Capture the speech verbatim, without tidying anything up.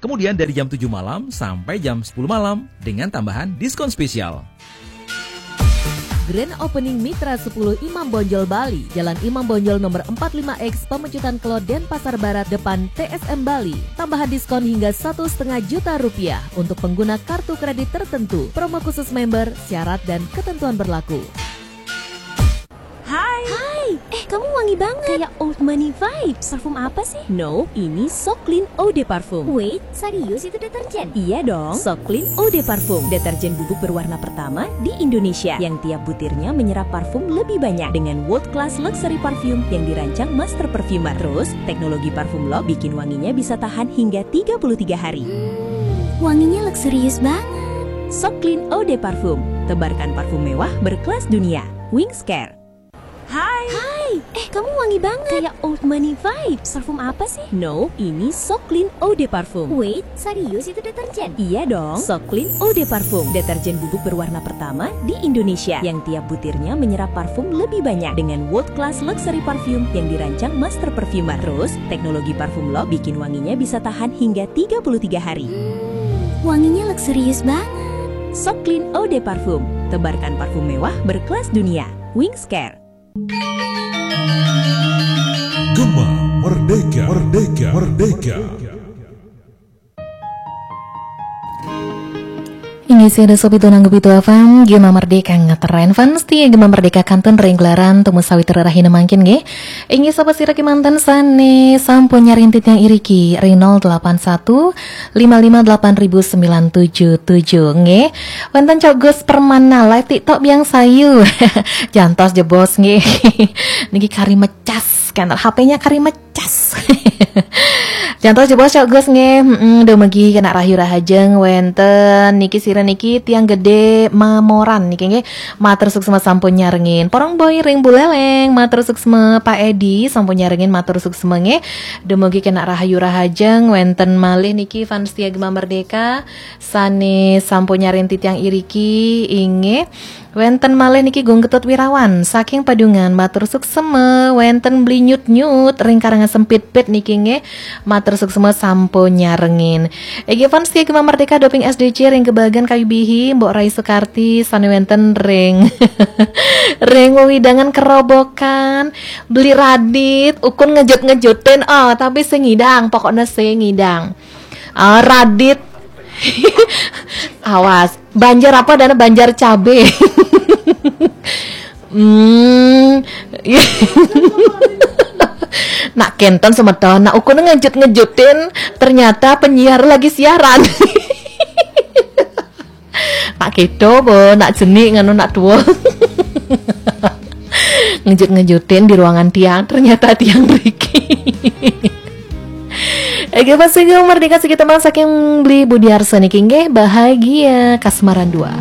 Kemudian dari jam tujuh malam sampai jam sepuluh malam dengan tambahan diskon spesial. Grand Opening Mitra sepuluh Imam Bonjol Bali, Jalan Imam Bonjol nomor empat lima X, Pemecutan Kelod, Denpasar Barat, depan T S M Bali. Tambahan diskon hingga satu setengah juta rupiah untuk pengguna kartu kredit tertentu. Promo khusus member, syarat dan ketentuan berlaku. Hai. Hai. Eh, kamu wangi banget. Kayak old money vibes. Parfum apa sih? No, ini So Clean Eau de Parfum. Wait, serius itu deterjen? Iya dong. So Clean Eau de Parfum, deterjen bubuk berwarna pertama di Indonesia yang tiap butirnya menyerap parfum lebih banyak dengan world class luxury perfume yang dirancang master perfumer. Terus, teknologi parfum lock bikin wanginya bisa tahan hingga tiga puluh tiga hari. Wanginya luxurious banget. So Clean Eau de Parfum. Tebarkan parfum mewah berkelas dunia. Wings Care. Hai. Hai. Eh, kamu wangi banget. Kayak old money vibes. Parfum apa sih? No, ini So Clean Eau de Parfum. Wait, serius itu deterjen? Iya dong. So Clean Eau de Parfum, deterjen bubuk berwarna pertama di Indonesia yang tiap butirnya menyerap parfum lebih banyak dengan world class luxury perfume yang dirancang master perfumer. Terus, teknologi parfum lock bikin wanginya bisa tahan hingga tiga puluh tiga hari. Wanginya luxurious banget. So Clean Eau de Parfum. Tebarkan parfum mewah berkelas dunia. Wings Care. Gema Merdeka, Merdeka, Merdeka. Inggih, sia dasa pitu nanggu pitu F M, Gema Merdeka ngetren. Fans setia Gema Merdeka kantun ring gelaran tumu sawitra rahina mangkin nggih. Inggih, sapa sira kemanten sane sampun nyarintiti yang iriki ring nol delapan satu lima lima delapan ribu sembilan tujuh tujuh nggih. Wenten Cok Gus Permana live TikTok biang sayu. Jantos jebos nggih. Niki kari mecas kan, H P-nya kari mecas. Jantos jebos Cok Gus nggih. Mm, dumugi kena rahayu rahajeng wenten niki sira niki tiang gede Mamoran niki nggih. Matur suksma sampun nyarengin. Porong Boy ring Buleleng, matur suksma. Pak Edi sampun nyarengin, matur suksma nggih. Dumugi kena rahayu rahajeng wenten malih niki fans setia Gema Merdeka sane sampun nyarintiti yang iriki inggih. Wenten malih niki Gung Ketut Wirawan saking Padungan, matur suksma. Wenten Bli Nyut Nyut ring Karangasem Pitpit niki nggih, matur suksma sampun nyarengin. Inggih fans setia Gema Merdeka doping S D C ring Gebagan Kayu Bihi, Mbok Rai Sukarti sane wenten ring ring wewidangan Kerobokan, Bli Radit, ukun ngejut-ngejutin, oh tapi sing ngidang, pokoknya sing ngidang. Ah, Radit. Awas, Banjar apa dan Banjar Cabe. Hmm. Nak kenten semeton, nak ukun ngejut-ngejutin, ternyata penyiar lagi siaran. Nak kedo bo, nak jenik nganu nak tua. Ngejut-ngejutin di ruangan tiang, ternyata tiang riki. Oke, pas Merdeka sekitar saking Bli Budiarsa niki nggih, Bahagia Kasmaran dua.